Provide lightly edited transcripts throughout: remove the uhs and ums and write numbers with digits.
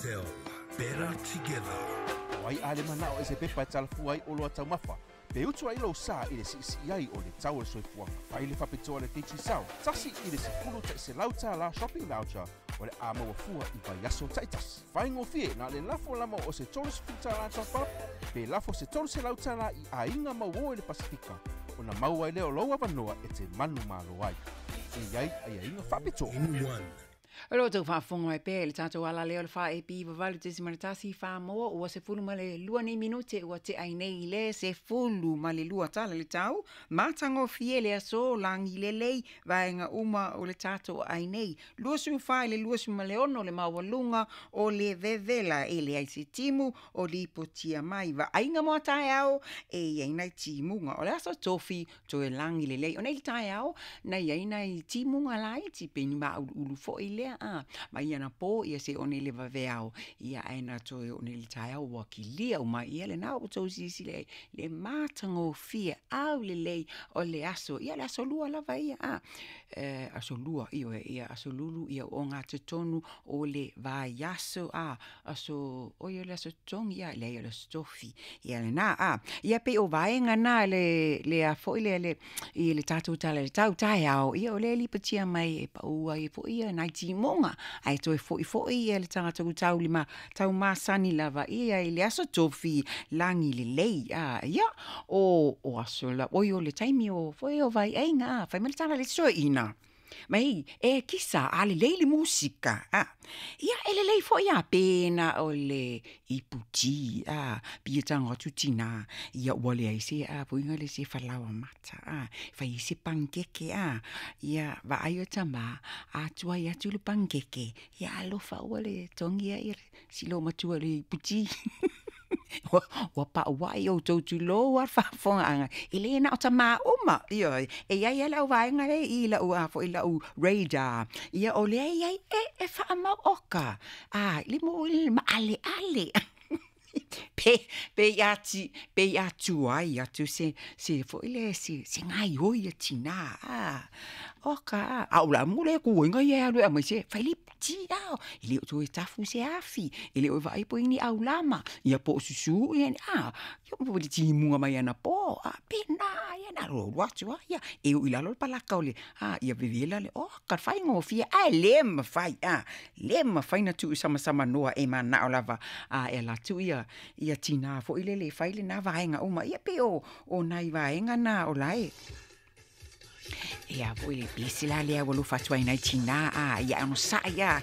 Tell. Better together. O ai a le manao e se pepa e talafua ai oloa taumafa, pe utu ai lou sa i le siisii ai o le tau o le soifuaga. Fai le faapitoa a le Digicel, $1 i le $100 shopping voucher o le a maua fua i vaiaso taitasi. Faigofie na le lafo lama o se $30 top up, pe lafo se $300 i aiga mauō i le Pasifika, ona maua ai lea o lou avanoa e te manumalo ai. E i ai aiaiga faapitoa. In one. O lo outou faafofoga mai pea i le tatou ala lea o le 4AP 8.1 Samoa, ua 12 nei minute ua tea ai nei le 12 tala le tau. Matagofie le aso, lagi lelei vaega uma o le tatou ai nei. 24 i le 26 le maualuga o le vevela, e leai se timu o lipotia mai. Vaaiga mo a taeao e iai nai timuga. O le aso Tofi toe lagi lelei. O nei le taeao na iai nai timuga laiti pe ni mauluulu foi lea a. Ma ia na po ia se one le vaveao. Ia ae na toe o nei le taeao ua kilia uma ia le na o tou silasila ai le matagofie aulelei o le aso. Ia le aso Lua lava ia a. Aso Lua ioe ia aso Lulu ia o ngā totonu o le vaiaso a. Aso oi o le aso Togi ia leai o le aso Tofi. Ia lena a. Ia pei o vaega na le le a foi le le i le tatou tala le tau taeao ia o le lipotia mai e pau ai foi ia nai timuga ae toe fo'ifo'i ia le tatou taulima taumasani lava ia i le aso Tofi lagi lelei a. Ia o aso la oi o le taimi o foi o vaiaiga a fai mai le tala le soeina mai e kisa a lelei le musika a. Ia e lelei fo'i a pena o le iputi a pia tago atu tinā ia ua leai se a puiga le se falaoa mata a fai ai se panikeke a. Ia vaai o tamā a tuai atu le panikeke ia alofa ua le togi ai si loomatua i le iputi ua paʻuaʻi outou tulou a le faafofogaaga e lē na o tamā uma ioe e iai a le au vaega lea i lau a foi lau radar ia o lea iai e faamau oka a le mo le maaleale pe pe ia ti pe ia tuai atu se foi le se gaioi ia tinā a oka a a o le amu le kuiga ia e alu e aumai se fai le iputi a e le o toe tafu se afi e le o vaai po o i ai ni aulama ia po o susū ia a ia po o le timuga mai anapo a pena ia na alualu atu a ia e ui lalo le palaka o le a ia vevela le oka le faigofie ae lē mafai a lē mafai na tuusamasama e manao lava a e alu atu ia ia tinā foi lele e fai lena vaega uma ia pei o nai vaega na o lae ia foi le pese la lea ua alofa atu ai nai tinā a ia onosaʻi a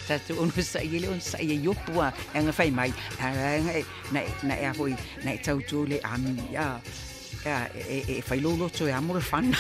tatou onosaʻi e le onosaʻi e iopu a e aga fai mai na na e a foi na e tautua le ami a e fai lou loto e amo le fana.